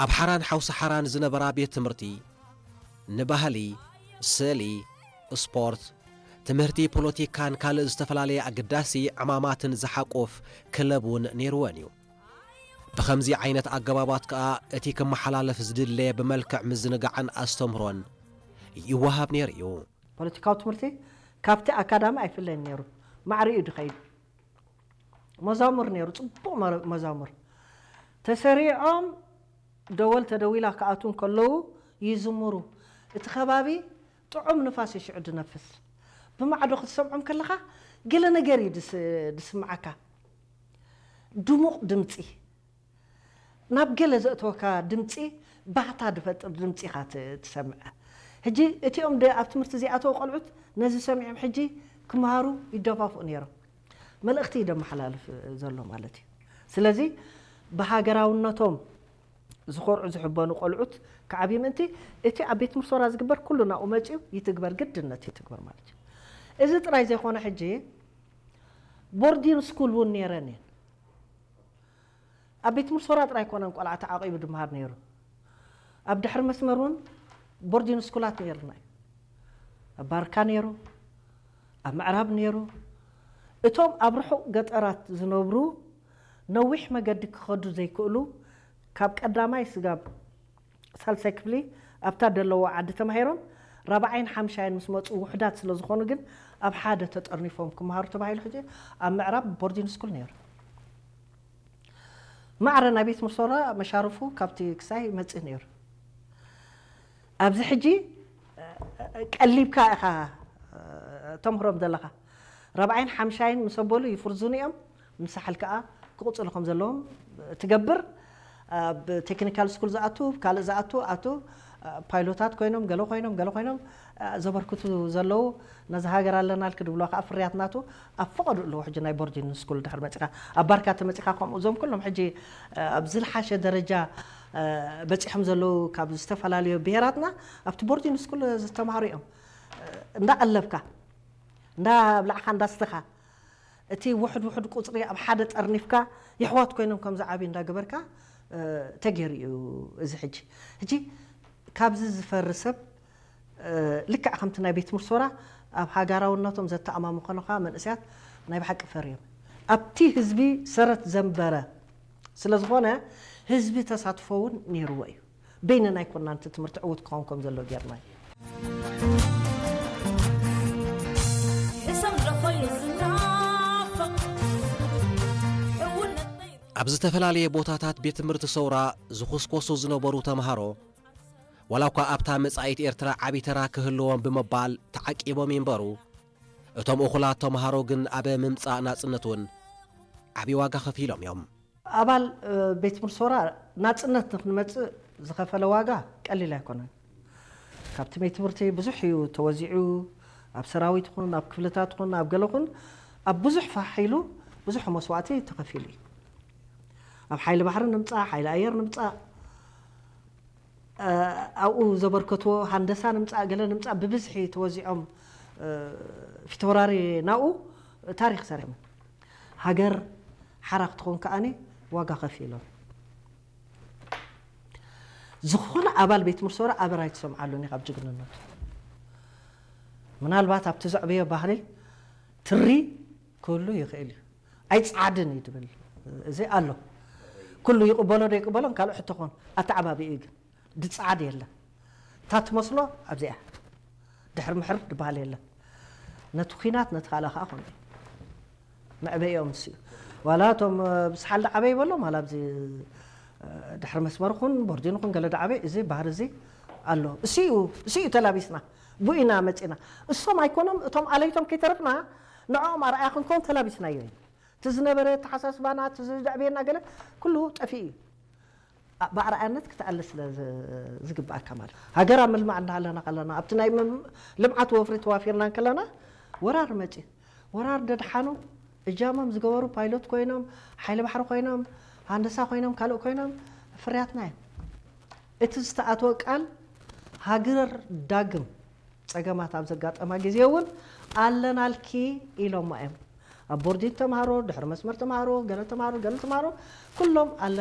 ኣብ ሓራን ሓውሲ ሓራን ዝነበራ ቤት ትምህርቲ ንባህሊ፣ ስእሊ፣ ስፖርት፣ ትምህርቲ፣ ፖለቲካን ካልእ ዝተፈላለየ ኣገዳሲ ዕማማትን ዝሓቁፍ ክለብ እውን ነይርወን እዩ። ብኸምዚ ዓይነት ኣገባባት ከኣ እቲ ክመሓላለፍ ዝድለ ብመልክዕ ምዝንጋዕን ኣስተምህሮን ይወሃብ ነይሩ እዩ። ፖለቲካዊ ትምህርቲ ካብቲ ኣካዳሚ ኣይፍለይን ነይሩ። ማዕሪኡ ድኸይድ መዛሙር ነይሩ፣ ጽቡቕ መረ-፣ መዛሙር። ተሰሪዖም ደወል ተደዊላ ክኣትዉ እንከለዉ ይዝምሩ። እቲ ከባቢ ጥዑም ንፋስ እዩ ሽዑ ድነፍስ። ብማዕዶ ክትሰምዖም ከለኻ ገለ ነገር እዩ ድስ-፣ ድስምዓካ። ድሙቕ ድምጺ። ናብ ገለ ዘእተወካ ድምጺ ባህታ ድፈጥር ድምጺ ኢኻ ት-፣ ትሰምዐ። ሕጂ እቲኦም ደ-፣ ኣብ ትምህርቲ ዘይኣተዉ ቆልዑት ነዚ ሰሚዖም ሕጂ ክመሃሩ ይደፋፍኡ ነይሮም። መልእኽቲ እዩ ደመሓላልፍ ዘሎ ማለት እዩ። ስለዚ ብሃገራውነቶም ዝኾርዑ ዝሕበኑ ቆልዑት ክዓብዩ ምእንቲ እቲ ኣብ ቤት ምርሶራ ዝግበር ኩሉ ናብኡ መጺኡ ይትግበር፣ ግድነት ይትግበር ማለት እዩ። እዚ ጥራይ ዘይኮነ ሕጂ ቦርዲን ስኩል እውን ነይረን እየን። ኣብ ቤት ምርሶራ ጥራይ ኣይኮነን ቆልዓ ተዓቂቡ ድመሃር ነይሩ። ኣብ ድሕሪ መስመር እውን ቦርዲን ስኩላት ነይርና እዩ። ኣብ ባርካ ነይሩ፣ ኣብ ምዕራብ ነይሩ። እቶም ኣብ ርሑቕ ገጠራት ዝነብሩ ነዊሕ መገዲ ክኸዱ ዘይክእሉ ካብ ቀዳማይ ስጋብ ሳልሳይ ክፍሊ ኣብታ ደለዎ ዓዲ ተማሂሮም ራብዓይን ሓምሻይን ምስ መጹ ውሑዳት ስለ ዝኾኑ ግን ኣብ ሓደ ተጠርኒፎም ክመሃሩ ተባሂሉ ሕጂ ኣብ ምዕራብ ቦርዲን ስኩል ነይሩ። ማዕረ ናይ ቤት ምርሶራ መሻርፉ ካብቲ ክሳይ መጽእ ነይሩ። ኣብዚ ሕጂ ቀሊብካ ኢኻ ተምህሮም ዘለኻ። ራብዓይን ሓምሻይን ምስ ኣበሉ ይፍርዙን እዮም። ምሳሕል ከኣ ክቕጽሉ ከም ዘለዎም ትገብር። ኣብ ቴክኒካል ስኩል ዝኣቱ፣ ካልእ ዝኣቱ፣ ኣቱ፣ ፓይሎታት ኮይኖም፣ ገለ ኮይኖም፣ ገለ ኮይኖም፣ ዘበርክቱ ዘለዉ፣ ነዚ ሃገር ኣለናልኪ ድብሎ ከኣ ፍርያት ናቱ ኣብ ፈቐዱ ኣለዉ። ሕጂ ናይ ቦርዲን ስኩል ድሕሪ መጺኻ፣ ኣብ ባርካ ተመጺኻ ከምኡ፣ እዞም ኩሎም ሕጂ ኣብ ዝለሓሸ ደረጃ በጺሖም ዘለዉ ካብ ዝተፈላለዩ ብሄራትና ኣብቲ ቦርዲን ስኩል ዝተማሃሩ እዮም። እንዳቐለብካ፣ እንዳብላዕኻ፣ እንዳስተኻ፣ እቲ ውሑድ ውሑድ ቁጽሪ ኣብ ሓደ ጠርኒፍካ፣ የሕዋት ኮይኖም ከም ዝዓብዩ እንዳገበርካ፣ እ፣ ተገይሩ እዩ እዚ ሕጂ። ሕጂ ካብዚ ዝፈሪ ሰብ፣ እ፣ ልክዕ ከምቲ ናይ ቤት ምርሶራ ኣብ ሃገራውነቶም ዘተኣማምኾኑኻ መንእሰያት ናይ ብሓቂ ፈርዮም። ኣብቲ ህዝቢ ሰረት ዘንበረ ስለ ዝኾነ፣ ህዝቢ ተሳትፎ እውን ነይርዎ እዩ። በይንና ኣይኮንናን እቲ ትምህርቲ ዕዉት ክኸውን ከም ዘለዎ ጌርናዮ። ሕሰም ለኾይኑ ዝናፈቕ ሕውነት ነይሩ። ኣብ ዝተፈላለየ ቦታታት ቤት ትምህርቲ ሰውራ ዝኹስኮሱ ዝነበሩ ተምሃሮ፣ ዋላ እኳ ኣብታ መጻኢት ኤርትራ ዓቢ ተራ ክህልዎም ብምባል ተዓቂቦም ይንበሩ፣ እቶም እኹላት ተምሃሮ ግን ኣብ ምምጻእ ናጽነት እውን ዓቢ ዋጋ ከፊሎም እዮም። ኣባል፣ እ፣ ቤት ምርሶራ ናጽነት ንክንመጽእ ዝኸፈለ ዋጋ ቀሊል ኣይኮነን። ካብቲ ቤት ትምህርቲ ብዙሕ እዩ ተወዚዑ፣ ኣብ ሰራዊት ይኹን፣ ኣብ ክፍልታት ይኹን፣ ኣብ ገለ ይኹን፣ ኣብ ብዙሕ ፋሕ ኢሉ ብዙሕ መስዋእቲ ተኸፊሉ እዩ። ኣብ ሓይሊ ባሕሪ ንምጻእ፣ ሓይሊ ኣየር ንምጻእ፣ እ፣ ኣብኡ ዘበርከትዎ ሃንደሳ ንምጻእ፣ ገለ ንምጻእ ብብዝሒ ተወዚዖም፣ እ፣ ፊተወራሪ ናብኡ ታሪኽ ሰሪሖም። ሃገር ሓራ ክትኾን ከኣኒ ዋጋ ከፊሎም። ዝኾነ ኣባል ቤት ምርሶራ ኣበር ኣይትሰምዓሉን ኢኻ ኣብ ጅግንነቱ። ምናልባት ኣብቲ ዘዕበዮ ባህሊ ትሪ ክህሉ ይኽእል እዩ። ኣይጸዓድን እዩ ድብል። እዚ ኣሎ። ኩሉ ይቕበሎ ዶ ይቕበሎን ካልእ ሕቶ ኾን ኣተዓባቢኡ እዩ ግን። ድጸዓድ የለን። እታ ትመስሎ ኣብዚኣ ድሕር ምሕር ድበሃል የለን። ነቲ ኲናት ነቲ ካልእ ከኣ ከምኡ እዩ። መዕበይኦም እሱ እዩ። ዋላ እቶም፣ እ፣ ብስሓል ደዓበ ይበሎም፣ ዋላ ኣብዚ፣ እ፣ ድሕሪ መስመር ኹን፣ ቦርዲን ኹን፣ ገለ ደዓበ፣ እዚ ባህሪ እዚ ኣሎ። እሱ እዩ፣ እሱ እዩ ተላቢስና። ብኡ ኢና መጺና። እሶም ኣይኮኖም፣ እቶም ኣለይቶም ከይተረፍና፣ ንዕኦም ኣርኣያ ክንከውን ተላቢስናዮ እዩ። እቲ ዝነበረ ኣተሓሳስባና፣ እቲ ዘዕበየና ገለ፣ ኩሉ ጠፊኡ እዩ። ኣ-፣ ብኣርኣያነት ክትኣለ ስለ ዝ-፣ ዝግብኣካ ማለት እዩ። ሃገር ኣብ ምልማዕ እንዳሃለና ከለና፣ ኣብቲ ናይ ምም-፣ ልምዓት ወፍሪ ተዋፊርና እንከለና፣ ወራር መጺኡ። ወራር ደድሓኑ፣ እጃሞም ዝገበሩ ፓይሎት ኮይኖም፣ ሓይሊ ባሕሪ ኮይኖም፣ ሃንደሳ ኮይኖም፣ ካልእ ኮይኖም፣ ፍርያትና እዮም። እቲ ዝተኣትወ ቃል፣ ሃገር ዳግም ጸገማት ኣብ ዘጋጠማ ግዜ እውን ኣለናልኪ ኢሎማ እዮም። ኣብ ቦርዲን ተምሃሮ፣ ድሕሪ መስመር ተምሃሮ፣ ገለ ተምሃሮ፣ ገለ ተምሃሮ፣ ኩሎም